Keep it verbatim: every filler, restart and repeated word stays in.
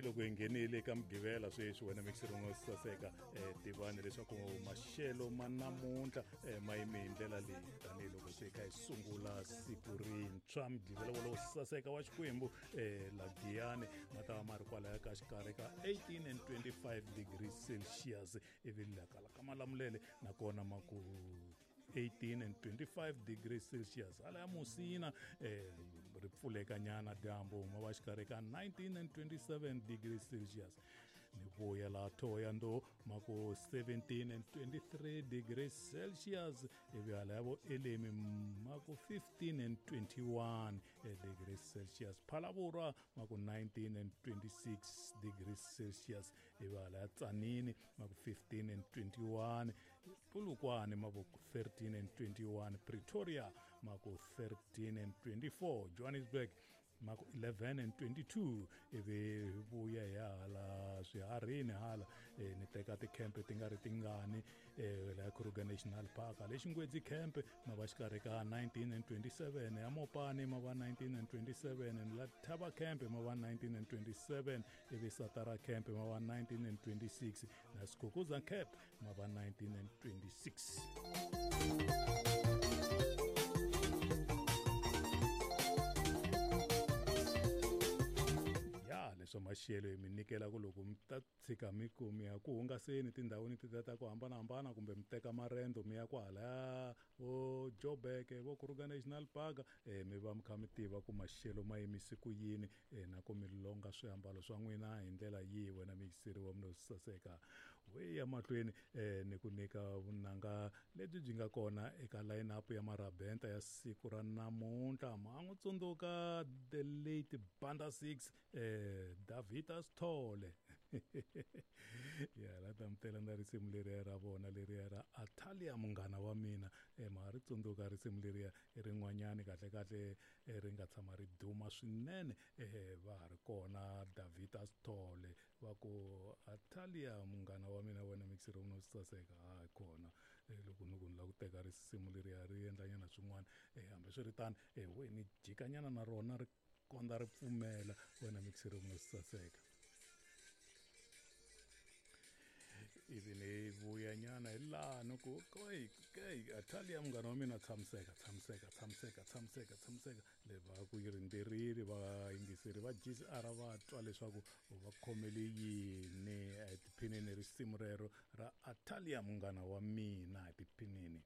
Tanihiloko hi nghenile eka Mugqivela sweswi wena mixiri wo saseka eh tivani leswaku maxelo ma namuntlha eh, ma yime hi ndlela leyi tanihiloko se kha hi sungula siku rintshwa Mugqivela wolowo saseka wa Xikwembu eh la Giyani ma ta va ma ri kwalaya ka xikarhi ka eighteen and twenty-five degrees Celsius ivi la kala ka Malamulele nakona ma ku eighteen and twenty-five degrees Celsius hala ya Musina eh ri pfuleka nyana dyambu ma va xikarhi ka nineteen and twenty-seven degrees Celsius ni vuya la Thohoyandou ma ku seventeen and twenty-three degrees Celsius ivi hala ya vo Elemi ma ku fifteen and twenty-one degrees Celsius Phalaborwa ma ku nineteen and twenty-six degrees Celsius ivi hala ya Tzaneen ma ku fifteen and twenty-one Polokwane ma ku thirteen and twenty-one Pretoria ma ku thirteen and twenty-four Johannesburg ma ku eleven and twenty-two ivi vuya hi hala swiharhini hala eh, ni teka tikhempe ti nga ri tingani eh, la Kruger National Park le Xingwedzi camp ma va xikarhi ka nineteen and twenty-seven ya Mopani ma va nineteen and twenty-seven la Thaba camp ma va nineteen and twenty-seven ivi Satara camp ma va nineteen and twenty-six na Skukuza camp ma va nineteen and twenty-six. Leswo maxelo hi mi nyikela ku loko mi ta tshika mi ku mi ya ku hungaseni tindhawini ti ta ku hambanahambana kumbe mi teka marendo mi ya kwahalaya vo Joburg vo Kruger National Park eh, mi va mi kha mi tiva ku maxelo ma yimise ku yini eh, na ku mi longa swiambalo swa n'wina hi ndlela yihi wena mixiri wa mina saseka we ya mahlweni eh, ni ku nyika vunanga lebyi byi nga kona eka line up ya marabenta ya siku ra namuntlha ma n'wi tsundzuka the late Banda six eh, Davita Sithole ya la tamtela na risimu leriya ra vona leriya ra Atalia munghana wa mina eh, ma ri tsundzuka risimu leriya i rin'wanyani kahle kahle ri nga tshama ri duma swinene eh, va ha ri kona Davita Sithole va ku Atalia munghana wa mina wena mixiri wa mina saseka ha kona eh, loko ni ku ni lava ku teka risimu leriya ri endlanyana swin'wana eh, hambiswiritano eh, we ni jikanyana na rona ri konda ri pfumela wena mixiri wa mina saseka ivi ni vuya nyana hi laha ni ku kai kai Atalia munghana wa mina tshamiseka tshamiseka tshamiseka tshamiseka tshamiseka le va ku yi rindzirile vayingiseri va G C R va twa leswaku va khomele yini etiphinini risimu rero ra Atalia munghana wa mina etiphinini.